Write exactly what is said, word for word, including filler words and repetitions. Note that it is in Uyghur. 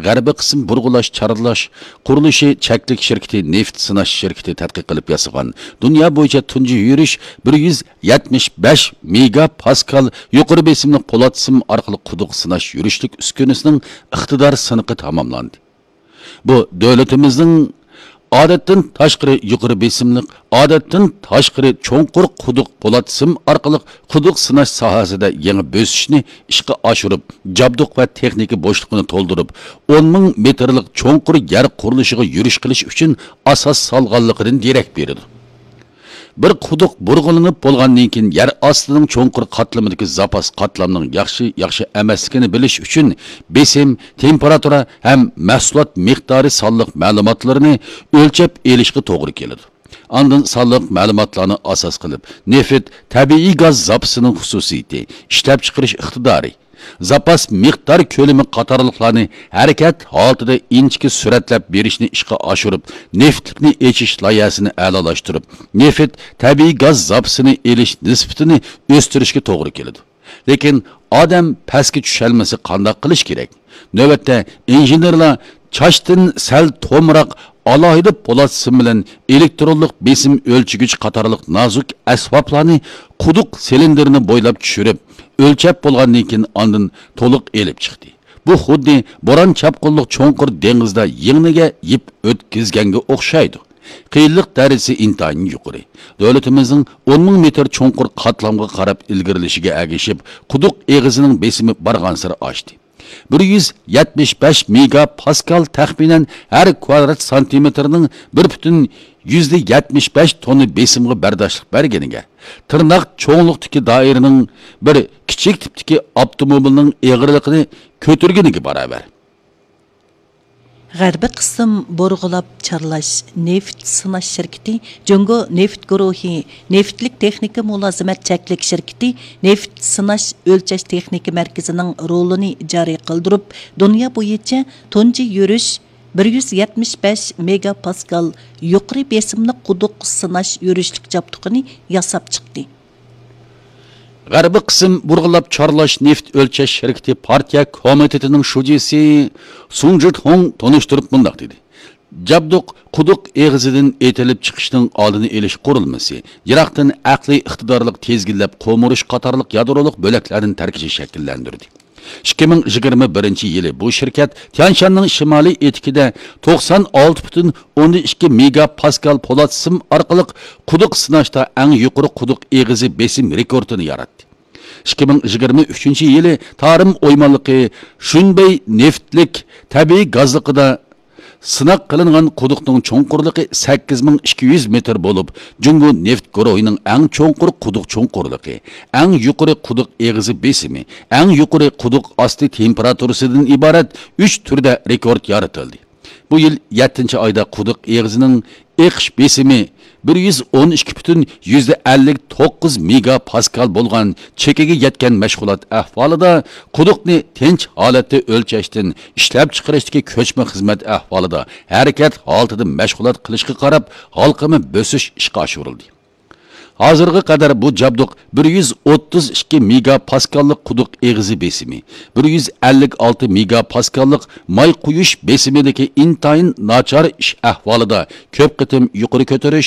غەربىي قىسىم بۇرغىلاش چارلاش قۇرۇلۇشى چەكلىك شىركىتى نېفىت سىناش شىركىتى تەتقىق قىلىپ ياسىغان دۇنيا بويىچە تۇنجى يۈرۈش بىر يۈز يەتمىش بەش مېگا پاسكال يۇقىرى بېسىملىق پولات سىم ئارقىلىق قۇدۇق سىناش يۈرۈشلۈك ئۈسكۈنىسىنىڭ ئىقتىدار سىنىقى تاماملاندى. بۇ دۆلىتىمىزنىڭ ئادەتتىن تاشقىرى يۇقىرى بېسىملىق، ئادەتتىن تاشقىرى چوڭقۇر قۇدۇق پولات سىم ئارقىلىق قۇدۇق سىناش ساھەسىدە يېڭى بۆسۈشنى ئىشقا ئاشۇرۇپ، جابدۇق ۋە تېخنىكا بوشلۇقىنى تولدۇرۇپ، ئون مىڭ مېتىرلىق چوڭقۇر يەر قۇرۇلۇشىغا يۈرۈش قىلىش ئۈچۈن ئاساس سالغانلىقىدىن دېرەك بېرىدۇ. بىر قۇدۇق بۇرغىلىنىپ بولغاندىن كېيىن، يەر ئاستىنىڭ چوڭقۇر قاتلىمىدىكى زاپاس قاتلامنىڭ ياخشى، ياخشى ئەمەسلىكىنى بىلىش ئۈچۈن، بېسىم، تېمپېراتۇرا ھەم مەھسۇلات مىقدارى سانلىق مەلۇماتلىرىنى ئۆلچەپ ئېلىشقا توغرا كېلىدۇ. ئاندىن سانلىق مەلۇماتلارنى ئاساس قىلىپ، نېفىت، تەبىئىي گاز زاپىسىنىڭ خۇسۇسىيىتى، ئىشلەپچىقىرىش ئىقتىدارى، زاپاس مىقدار كۆلىمى قاتارلىقلارنى ھەرىكەت ھالىتىدە ئىنچىكە سۈرەتلەپ بېرىشنى ئىشقا ئاشۇرۇپ، نېفىتلىكنى ئېچىش لايىھەسىنى ئەلالاشتۇرۇپ، نېفىت، تەبىئىي گاز زاپىسىنى ئېلىش نىسبىتىنى ئۆستۈرۈشكە توغرا كېلىدۇ. لېكىن ئادەم پەسكە چۈشەلمىسە قانداق قىلىش كېرەك؟ نۆۋەتتە ئىنژېنېرلار چاچتىن سەل تومراق ئالاھىدە پولات سىم بىلەن ئېلېكترونلۇق بېسىم ئۆلچىگۈچ قاتارلىق نازۇك ئەسۋابلارنى قۇدۇق سىلىندىرىنى بويلاپ چۈشۈرۈپ، ئۆلچەپ بولغاندىن كېيىن ئاندىن تولۇق ئېلىپ چىقتى. بۇ خۇددى بوران-چاپقۇنلۇق چوڭقۇر دېڭىزدا يىڭنىگە يىپ ئۆتكۈزگەنگە ئوخشايدۇ. قىيىنلىق دەرىجىسى ئىنتايىن يۇقىرى. دۆلىتىمىزنىڭ ئون مىڭ مېتىر چوڭقۇر قاتلامغا قاراپ ئىلگىرىلىشىگە ئەگىشىپ، قۇدۇق ئېغىزىنىڭ بېسىمى بارغانسېرى ئاشتى. بىر يۈز يەتمىش بەش مېگا پاسكال تەخمىنەن ھەر كۋادرات سانتىمېتىرنىڭ بىر پۈتۈن يۈزدە يەتمىش بەش توننا بېسىمغا بەرداشلىق بەرگىنىگە، تىرناق چوڭلۇقتىكى دائىرىنىڭ بىر كىچىك تىپتىكى ئاپتوموبىلنىڭ ئېغىرلىقىنى كۆتۈرگىنىگە باراۋەر. غەربىي قىسىم بۇرغىلاپ چارلاش نېفىت سىناش شىركىتى، جۇڭگو نېفىت گۇرۇھى نېفىتلىك تېخنىكا مۇلازىمەت چەكلىك شىركىتى نېفىت سىناش ئۆلچەش تېخنىكا مەركىزىنىڭ رولىنى جارى قىلدۇرۇپ، دۇنيا بويىچە تۇنجى يۈرۈش بىر يۈز يەتمىش بەش مېگا پاسكال يۇقىرى بېسىملىق قۇدۇق سىناش يۈرۈشلۈك جابدۇقىنى ياساپ چىقتى. غەربىي قىسىم بۇرغىلاپ چارلاش نېفىت ئۆلچەش شىركىتى پارتىيە كومىتېتىنىڭ شۇجىسى سۇڭ جىتخۇڭ تونۇشتۇرۇپ مۇنداق دېدى: جابدۇق قۇدۇق ئېغىزىدىن ئېتىلىپ چىقىشنىڭ ئالدىنى ئېلىش قۇرۇلمىسى، يىراقتىن ئەقلىي ئىقتىدارلىق تىزگىنلەپ قومۇرۇش قاتارلىق يادرولۇق بۆلەكلەردىن تەركىبى شەكىللەندۈردى. ئىككى مىڭ يىگىرمە بىرىنچى يىلى بۇ شىركەت تيەنشاننىڭ شىمالىي ئېتىكىدە توقسان ئالتە پۈتۈن ئوندىن ئىككى مېگا پاسكال پولات سىم ئارقىلىق قۇدۇق سىناشتا ئەڭ يۇقىرى قۇدۇق ئېغىزى بېسىم رېكورتىنى ياراتتى. ئىككى مىڭ يىگىرمە ئۈچىنچى يىلى تارىم ئويمانلىقى شۇنبەي نېفىتلىك تەبىئىي گازلىقىدا سىناق قىلىنغان قۇدۇقنىڭ چوڭقۇرلۇقى سەككىز مىڭ ئىككى يۈز مېتىر بولۇپ، جۇڭگو نېفىت گۇرۇھىنىڭ ئەڭ چوڭقۇر قۇدۇق چوڭقۇرلۇقى، ئەڭ يۇقىرى قۇدۇق ئېغىزى بېسىمى، ئەڭ يۇقىرى قۇدۇق ئاستى تېمپېراتۇرىسىدىن ئىبارەت ئۈچ تۈردە رېكورت يارىتىلدى. بۇ يىل يەتتىنچى ئايدا قۇدۇق ئېغىزىنىڭ ئېقىش بېسىمى بىر يۈز ئون ئىككى پۈتۈن يۈزدە ئەللىك توققۇز مېگا پاسكال بولغان چېكىگە يەتكەن مەشغۇلات ئەھۋالىدا، قۇدۇقنى تىنچ ھالەتتە ئۆلچەشتىن ئىشلەپچىقىرىشتىكى كۆچمە خىزمەت ئەھۋالىدا ھەرىكەت ھالىتىدە مەشغۇلات قىلىشقا قاراپ، ھالقىما بۆسۈش ئىشقا ئاشۇرۇلدى. ھازىرغا قەدەر بۇ جابدۇق بىر يۈز ئوتتۇز ئىككى مېگا پاسكاللىق قۇدۇق ئېغىزى بېسىمى، بىر يۈز ئەللىك ئالتە مېگا پاسكاللىق ماي قۇيۇش بېسىمىدىكى ئىنتايىن ناچار ئىش ئەھۋالىدا كۆپ قېتىم يۇقىرى كۆتۈرۈش،